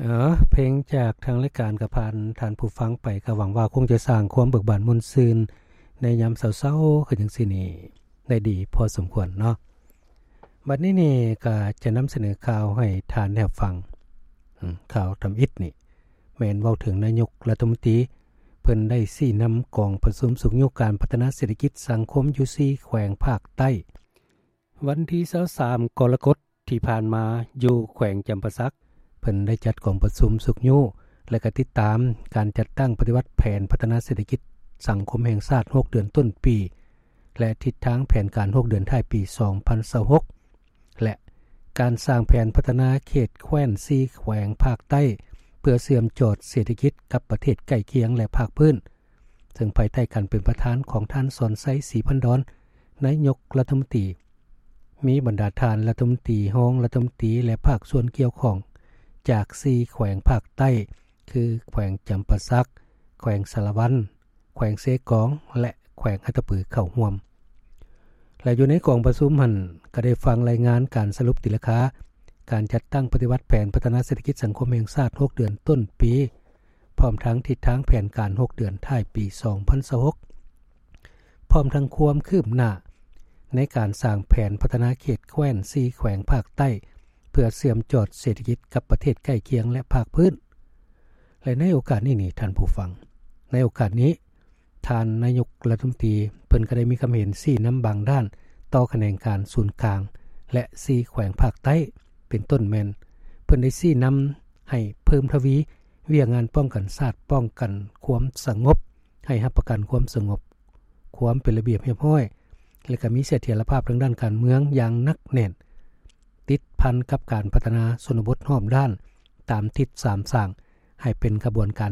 ເອີ ເພງຈາກທາງລາຍການກໍຜ່ານທ່ານຜູ້ຟັງໄປ ກໍຫວັງວ່າຄົງຈະສ້າງຄວາມເບີກບານມ່ວນຊື່ນໃນຍາມເຊົ້າໆຄືຈັ່ງຊີ້ນີ້ ໄດ້ດີພໍສົມຄວນເນາະ. ບັດນີ້ນີ້ກໍຈະນຳສະເໜີຂ່າວໃຫ້ທ່ານໄດ້ຮັບຟັງ. ອືມ ຂ່າວທຳອິດນີ້ ແມ່ນເວົ້າເຖິງນາຍົກລັດຖະມົນຕີ ເພິ່ນໄດ້ຊີ້ນຳກອງປະຊຸມຊຸກຍູ້ການພັດທະນາເສດຖະກິດສັງຄົມຢູ່ສີ່ແຂວງພາກໃຕ້. ວັນທີຊາວສາມ ກໍລະກົດທີ່ຜ່ານມາ ຢູ່ແຂວງຈຳປາສັກ ເພິ່ນໄດ້ຈັດກອງປະຊຸມຊຸກຍູ້ ແລະ ກະຕິດຕາມການຈັດຕັ້ງປະຕິບັດແຜນພັດທະນາເສດຖະກິດສັງຄົມແຫ່ງຊາດ ຫົກເດືອນຕົ້ນປີ ແລະ ທິດທາງແຜນການ ຫົກເດືອນທ້າຍປີ ສອງພັນຊາວຫົກ ແລະ ການສ້າງແຜນພັດທະນາເຂດແຄວ້ນສີ່ແຂວງພາກໃຕ້ ເພື່ອເຊື່ອມຈອດເສດຖະກິດກັບປະເທດໃກ້ຄຽງ ແລະ ພາກພື້ນ, ເຊິ່ງພາຍໃຕ້ການເປັນປະທານຂອງທ່ານ ສອນໄຊ ສີພັນດອນ ນາຍົກລັດຖະມົນຕີ, ມີບັນດາທ່ານລັດຖະມົນຕີ, ຮອງລັດຖະມົນຕີ ແລະ ພາກສ່ວນກ່ຽວຂ້ອງຈາກສີ່ແຂວງພາກໃຕ້ ຄື ແຂວງຈຳປາສັກ, ແຂວງສາລະວັນ, ແຂວງເຊກອງ ແລະ ແຂວງອັດຕະປື ເຂົ້າຮ່ວມ. ແລະ ຢູ່ໃນກອງປະຊຸມຫັ້ນ ກໍໄດ້ຟັງລາຍງານການສະຫຼຸບຕີລາຄາ ການຈັດຕັ້ງປະຕິບັດແຜນພັດທະນາເສດຖະກິດສັງຄົມແຫ່ງຊາດ ຫົກເດືອນຕົ້ນປີ, ພ້ອມທັງທິດທາງແຜນການ ຫົກເດືອນທ້າຍປີ ສອງພັນຊາວຫົກ ພ້ອມທັງຄວາມຄືບໜ້າໃນການສ້າງແຜນພັດທະນາເຂດແຄວ້ນສີ່ແຂວງພາກໃຕ້ ເພື່ອເຊື່ອມຈອດເສດຖະກິດກັບປະເທດໃກ້ຄຽງ ແລະ ພາກພື້ນ. ແລະ ໃນໂອກາດນີ້ນີ້ ທ່ານຜູ້ຟັງ, ໃນໂອກາດນີ້ ທ່ານນາຍົກລັດຖະມົນຕີ ເພິ່ນກໍໄດ້ມີຄຳເຫັນຊີ້ນຳບາງດ້ານຕໍ່ຂະແໜງການສູນກາງ ແລະ ສີ່ແຂວງພາກໃຕ້ ເປັນຕົ້ນແມ່ນ ເພິ່ນໄດ້ຊີ້ນຳໃຫ້ເພີ່ມທະວີວຽກງານປ້ອງກັນຊາດ, ປ້ອງກັນຄວາມສະຫງົບ, ໃຫ້ຮັບປະກັນຄວາມສະຫງົບ, ຄວາມເປັນລະບຽບຮຽບຮ້ອຍ ແລະ ກໍມີສະຖຽນລະພາບທາງດ້ານການເມືອງຢ່າງໜັກແໜ້ນ, ຕິດພັນກັບການພັດທະນາຊົນນະບົດຮອບດ້ານຕາມທິດສາມສ້າງ ໃຫ້ເປັນຂະບວນການ